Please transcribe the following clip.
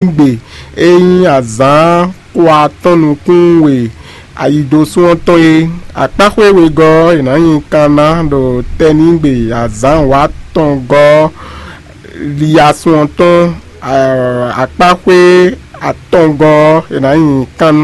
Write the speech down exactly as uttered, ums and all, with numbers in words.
tɛ́nnígbe e nyí azǎn xo atɔ́ɔ́n nukún we ayidosún ɔ́ tɔn é. Akpáxwé wegɔ́ ɔ́, è nǎ nyi kan ná ɖo tɛ́nnígbe azǎn wǒ atɔngɔ́ ɔ́, liasún ɔ́ tɔn. Akpáxwé atɔngɔ́ ɔ́, è nǎ nyi kan